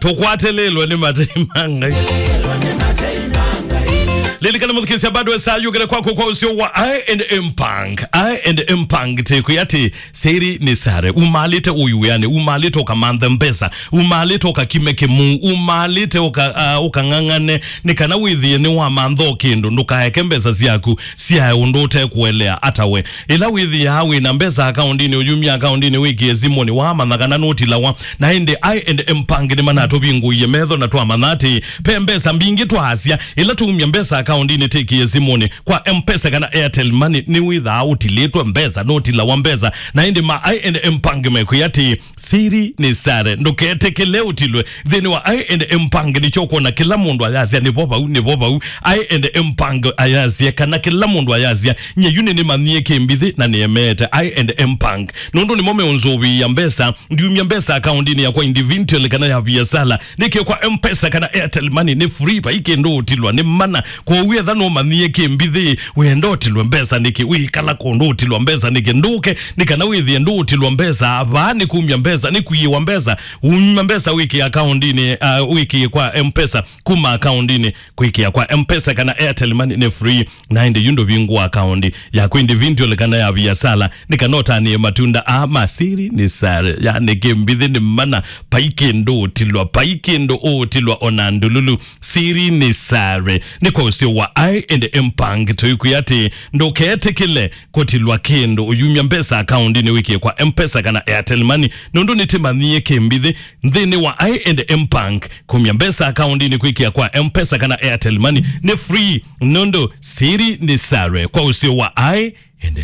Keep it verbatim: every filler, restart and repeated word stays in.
Tũkwatĩlĩlwe nĩ matei ma Ngai. Lilikana mũthukĩĩsya, bado saa yũkĩte kwaku kwa ũseo wa I and M Punk. I and M Punk tĩkwĩ atĩ siri nĩ sare. Umalĩte ũyu wĩanĩ, umalĩte ũkamanthe mbesa, umalĩte ũkakime kĩmuu, umalĩte ũka, uh, ũkang'ang'ane, nĩ kana wĩthĩe nĩ wamantha o kĩndũ, ndũkaeke mbesa syaku syae ũndũ ũtekũelea ata we. Ĩla wĩthĩaa wĩ na mbesa akaũndinĩ, ũyumya akaũndinĩ wĩkĩe simũnĩ, waamanya kana nũtilawa. Na ĩndĩ I and M Punk nĩmanatũvingũie metho na twamanya atĩ ve mbesa mbingĩ twaasya. Ĩla tũumya mbesa akaũndinĩ tĩkĩe simũnĩ kwa M-Pesa kana Airtel Money, nĩwĩthaa ũtilĩtwe mbesa, nũtilawa mbesa. Na ĩndĩ ma I and M Punk mekwĩa atĩ, siri nĩ sare, ndũketĩkĩle ũtilwe. Nthĩnĩ wa I and M Punk nĩkyo ũkwona kĩla mũndũ ayasya, "Nĩvo vau, nĩvo vau." I and M Punk ayasya, kana kĩla mũndũ ayasya, "Nye yu nĩnĩmanyie kĩmbithĩ na nĩemeete." I and M Punk, nũndũ nĩmo meũnzũvĩĩa mbesa, ndiumya mbesa akaũndinĩ yakwa individual kana ya viasala, nĩkĩ kwa M-Pesa kana Airtel Money nĩ free, vai kĩndũ ũtilwa nĩ mana. Kwoou etha nũmanyie kĩmbithĩ, wenda ũtilwe mbesa nĩkĩ? Wĩkala kũndũ ũtilwa mbesa nĩkĩ? Ndũke, nĩ kana wĩthĩe ndũũtilwa mbesa. Vaa nĩ kumya mbesa, nĩ kũiĩwa mbesa. Umya mbesa wĩkĩe akaũndinĩ, uh, wĩkĩe kwa M-Pesa, kuma akaũndinĩ kwĩkĩa kwa M-Pesa kana Airtel Money nĩ free. Na ĩndĩ yu ndũvingũa akaũndi yaku individual kana ya viasala, nĩ kana ũtanĩe matunda aa ma siri nĩ sare. Yani kĩmbithĩ nĩ mana, vai kĩndũ ũtilwa, vai kĩndũ ũũtilwa ona ndululu. Siri nĩ sare. Nĩ kwa ũseo wa I and M Punk tũikwĩa atĩ ndũketĩkĩle kũtilwa kĩndũ ũyumya mbesa akaũndinĩ wĩkĩe kwa M-Pesa kana Airtel Money, nũndũ nĩtĩmanyie kĩmbithĩ. Nthĩnĩ wa I and M Punk, kumya mbesa akaũndinĩ kwĩkĩa kwa M-Pesa kana Airtel Money nĩ free, nũndũ siri nĩ sare. Kwa ũseo wa I